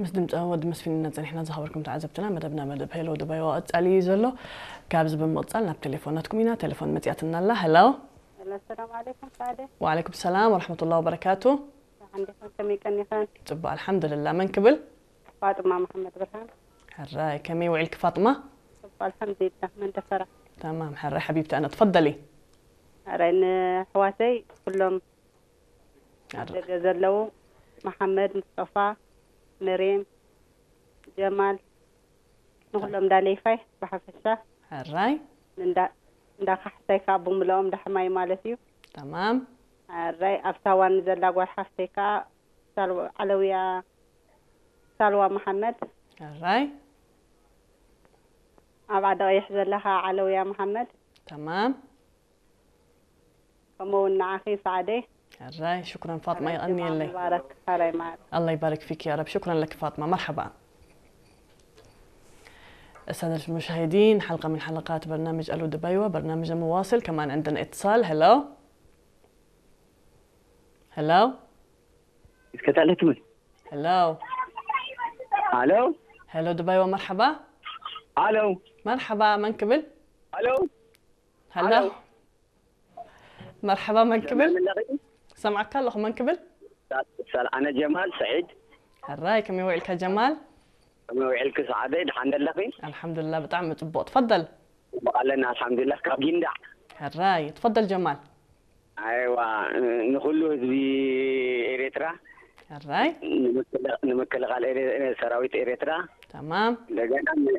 ምስ ድምፂ ወዲ መስፍን ኢና ጸኒሕና። ዝኸበርኩም ተዓዘብትና፣ መደብና መደብ ሄሎ ድባይዋ ቀጻሊ እዩ ዘሎ። ካብዚ ብምቕጻል ናብ ቴሌፎናትኩም ኢና። ቴሌፎን መጺኣትና ኣላ። ሄሎ። ሄሎ፣ ሰላም ዓለይኩም ሳዕደ። ወዓለይኩም ሰላም ወረሕመቱላሂ ወበረካቱ። እንዴት፣ ከመይ ቀኒኸን? ጽቡቕ፣ ኣልሓምዱሊላህ። መን ክብል? ፋጥማ መሓመድ ብርሃን። ሕራይ፣ ከመይ ውዒልኪ ፋጥማ? ጽቡቕ፣ ኣልሓምዱሊላህ። መን ደፈራ? ተማም፣ ሕራይ ሓቢብቲ፣ ኣነ ትፈደሊ። ሕራይ፣ ንኣሕዋተይ ኩሎም ኣብ ደገ ዘለዉ፣ መሓመድ፣ ሙስጠፋ፣ መርየም፣ ጀማል፣ ንኹሎም ዳሌፋይ ብሓፈሻ። ሕራይ። እንዳ፣ እንዳ ካሕሳይ ካብ ብምልኦም ዳሕማይ ማለት እዩ። ተማም። ሕራይ፣ ኣብ ሳዋ ንዘላ ጓል ሓፍተይ ከዓ ሳልዋ፣ ዓለውያ፣ ሳልዋ መሓመድ። ሕራይ። ኣብ ዓዲ ቀይሕ ዘላ ከዓ ዓለውያ መሓመድ። ተማም። ከምኡ እውን ንዓኺ ሳዕደይ። ሕራይ፣ ሽኩረን ፋጥማ፣ ሕራይ፣ ይቐንየለይ። ጅማ ሙባረክ፣ ሕራይ ማር። ኣላ ይባርክ ፊክ ያ ረብ። ሽኩረን ለክ ፋጥማ። መርሐባ። السادة المشاهدين، حلقة من حلقات برنامج ألو دبيوة، برنامج مواصل. كمان عندنا اتصال. هلو. هلو. اسكت عليك من؟ هلو. الو. هلو دبيوة، مرحبا. الو. مرحبا، من قبل؟ الو. هلو. الو. مرحبا، من قبل؟ من لغي؟ سمعك الله، من قبل؟ سال، سال، انا جمال سعيد. ሕራይ፣ ከመይ ውዒልካ ጀማል? ከመይ ውዒልኪ ሰዓደይ፣ ደሓን ደለኺ? ኣልሓምዱሊላህ፣ ብጣዕሚ ጽቡቕ። ትፈደል። ጽቡቕ ኣለና፣ ኣልሓምዱሊላህ። ካብ ጊንዳዕ። ሕራይ፣ ትፈደል ጀማል። ኣይዋ፣ ንኹሉ ህዝቢ ኤርትራ፣ ሕራይ። ንምክል-፣ ንምክልኻል ኤረ-፣ ሰራዊት ኤርትራ፣ ተማም። እንደገና ን-፣